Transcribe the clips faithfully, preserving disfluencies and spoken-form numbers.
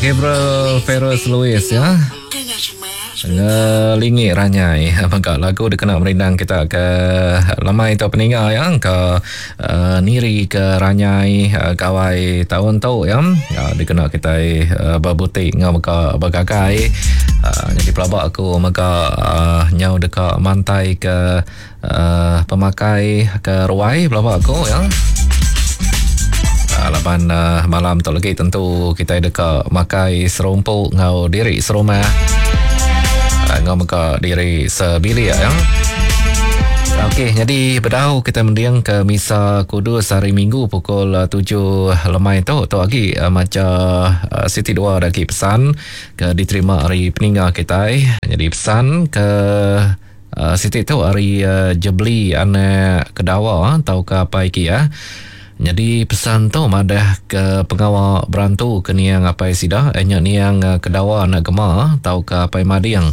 Gabriel Ferris Lewis ya. Ngelingi ranyai mega lagu dikena merindang kita ke lemai tu peninga ya ke uh, niri ke ranyai uh, gawai tahun tu ya uh, dikena kita uh, berbutik ngau mega bergagai uh, jadi pelabak aku mega uh, nyau deka mantai ke uh, pemakai ke ruai pelabak aku ya. Laban uh, malam tu lagi tentu kita deka makai serumpuk ngau diri serumah ngau mega diri sebilik ya. Okey, jadi bedau kita mending ke Misa Kudus hari Minggu pukul tujuh lemai tu. Tu lagi uh, maca uh, Siti dua lagi pesan ke diterima hari peninga kita. Jadi pesan ke uh, Siti tu hari uh, Jebli anak Kedawa atau ke apa iki ya. Jadi pesan tu madah ke pengawal berantu ke niang apai sida nya niang Kedawa anak Gema atau ke apai Mading.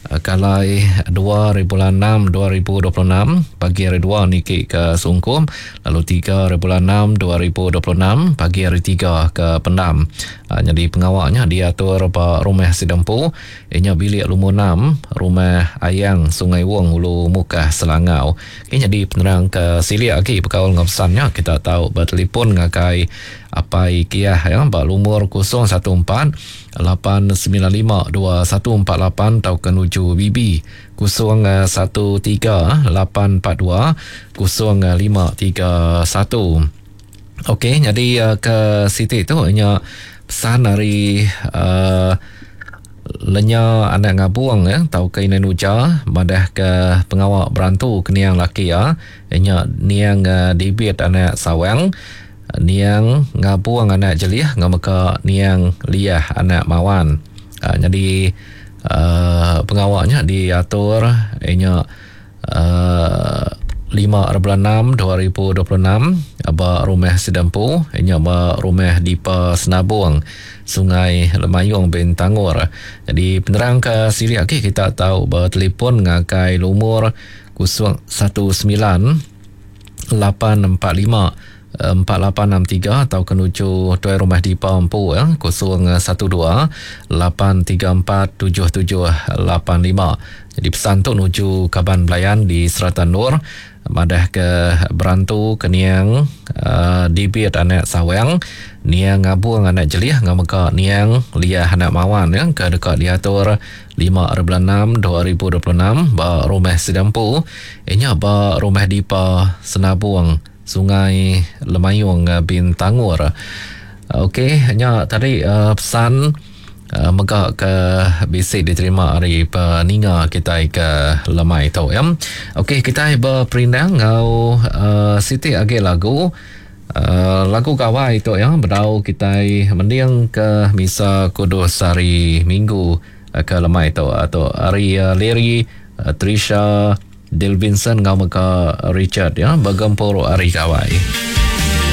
Kalai dua bulan enam dua ribu dua puluh enam pagi hari dua niki ke Sungkum, lalu tiga bulan enam dua ribu dua puluh enam pagi hari tiga ke Pendam. Ha, jadi pengawalnya diatur ba rumah Sidempu inya bilik lumur enam rumah Ayang Sungai Wong Ulu Mukah Selangau. Okay, jadi penerang ke silik lagi berkaul dengan pesannya kita tahu bertelefon ngagai apai Kiah ya ba lumur kosong satu empat lapan sembilan lima dua satu empat lapan atau ke nuju B B kosong satu tiga lapan empat dua kosong lima tiga satu. Okey, jadi ke Siti tu nya pesan dari uh, lenya anak ngabung ya tau ke ina nuja madah ke pengawal berantu ke niang laki ya nya niang uh, dibit anak sawang niang ngabung anak jeliah ngameka niang liah anak mawan. Uh, jadi uh, pengawalnya diatur nya uh, lima bulan enam dua ribu dua puluh enam ba rumah Sidempu nya ba rumah Dipa Senabung Sungai Lemayung Bintangor. Jadi penerang ke silik okey kita tahu bertelefon ngagai lumur kosong satu sembilan lapan empat lima empat lapan enam tiga atau kenuju tuai rumah Dipa Empu ya kosong satu dua lapan tiga empat tujuh tujuh lapan lima. Jadi pesan tu nuju kaban belayan di Seratan Nur madah ke berantu ke niang uh, dibit anak sawang niang ngabung anak jeliah ngameka niang liah anak mawan ya ke dekat diatur lima bulan enam dua ribu dua puluh enam ba rumah Sidempu inya ba rumah Dipa Senabung Sungai Lemayung Bintangor. Okey, nya tadi uh, pesan uh, mega ke bisi diterima hari peninga kita ke lemai tu ya. Okey, kita berperindang ngau uh, Siti agi lagu uh, lagu gawai tu ya, bedau kita mending ke Misa Kudus hari Minggu uh, ke lemai tu atau hari uh, Larry uh, Trisha Del Vincent ngau mega Richard ya bergempur hari gawai.